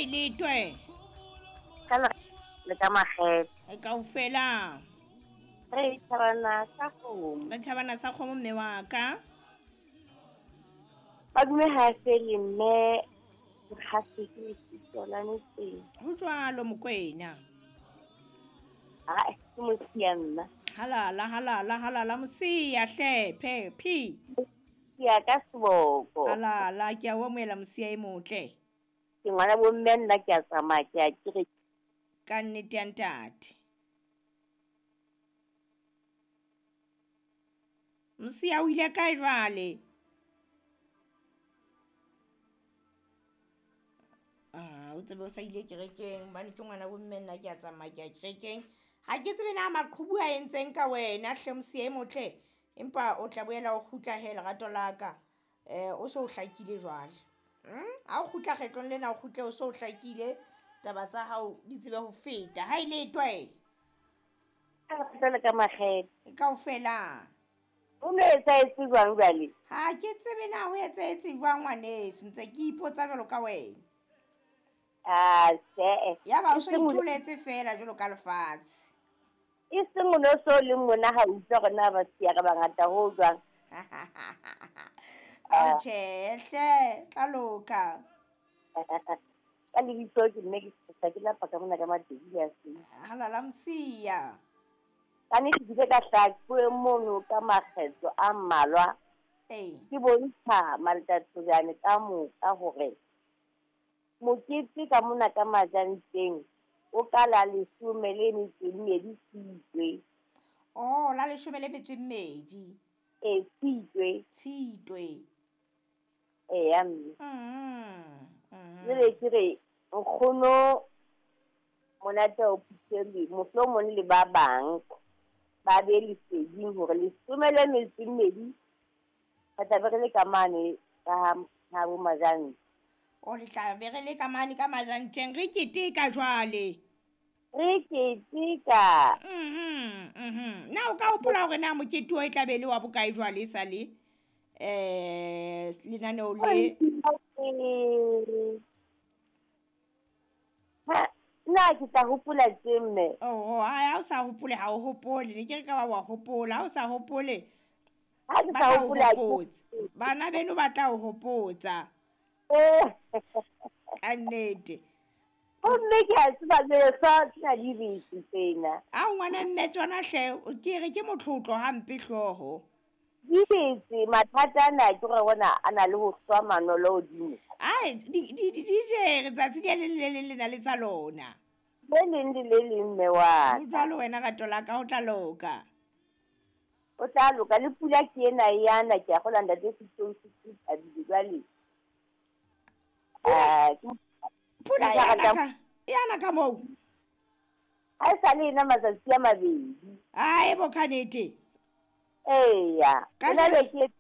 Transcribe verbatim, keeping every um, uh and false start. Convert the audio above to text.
Ha e letwe. Ka le ka makgethe. E kaofela. Re thabana sa kgomo. Re thabana sa kgomo mme wa ka. Madume ha fele mme ha se ke la metseng. Ho jwalo Mokwena. Ha ke Mosia nna. Halala halala halala Mosia hle phe phi. Mosia ka seboko. Halala ke a o amohela Mosia e motle. Ke ngwana bo mme nna ke a tsamaya ke a kere. Ka nnete ya ntate. Mosia o ile kae jwale? Ah, o tsebe o sa ile kerekeng hobane ke ngwana bo mme nna ke a tsamaya ke a kerekeng. Ha ke tsebe na maqhubu a entseng ka wena hle Mosia e motle, empa o tla boela o kgutla he lerato la ka. Eh o so o hlakile jwale. Mm? Ha o kgutla kgetlong lena o kgutle o so o hlakile, taba tsa hao di tsebe ho feta. Ha e letwe. Ka le ka makgethe. Kaofela. O ne etsahetse jwang jwale? Ha ke tsebe na ho etsahetse jwang ngwaneso, ntse ke ipotsa jwalo ka wena. Ah, tjhe. Ya ba o so itholetse fela jwalo ka lefatshe. E seng o no so le mona ha utlwa hore na ba siya re bangata ho jwang. Ah, tjhe hle, tla loka. Ka lebitso ke mme ke sa ke lapa ka mona ka Matedi ya se. Halala Mosia. Ka nnete ke ile ka hlaha mono ka makgetlo a mmalwa. Ee. Ke bontsha Maltatsojane ka moka hore mokete ka mona ka Majanteng o ka la leshome le metso e mmedi Tshitwe. Oh, la leshome le metso e mmedi. E Tshitwe. Tshitwe. Eya mme. Mm. Mm. Jwale ke re nkgono Monate o phuthele mohlomong le ba bang ba be leseding hore leshome le metso e mmedi re tla be re le ka mane ka ha bo Majanteng. O le tla be re le ka mane ka Majanteng re keteka jwale. Re keteka. Mhm, mhm. Na o ka hopola hore na mokete o e tla be le wa bokae jwale sa le eh lenaneo le? Ha nna ke tla hopola tje mme. Oh, ha o sa hopole ha o hopole, ne ke re ka ba wa hopola, ha o sa hopole. Ha ke sa hopola. Bana beno ba tla o hopotsa. Ka nnete. Gomme ke a tseba lefa ke na di bese tsena. A ngwana mme tsona hle ke re ke motlotlo hampe hlooho. Di bese mathata ana ke gore bona a na le ho hlwa manolo hodimo. Ai di di di jere tsatsi le le le le na le tsa lona. Le leng le le leng mme wa. O jwalo wena rato la ka o tla loka. O tla loka le pula ke ena yana ke a gola ntate Sitong se thabile jwale. Ah, pula yana ka yana ka moo. Ha e sa le ena matsatsi a mabedi. Ai bo kanete. Eya, Ka na le ke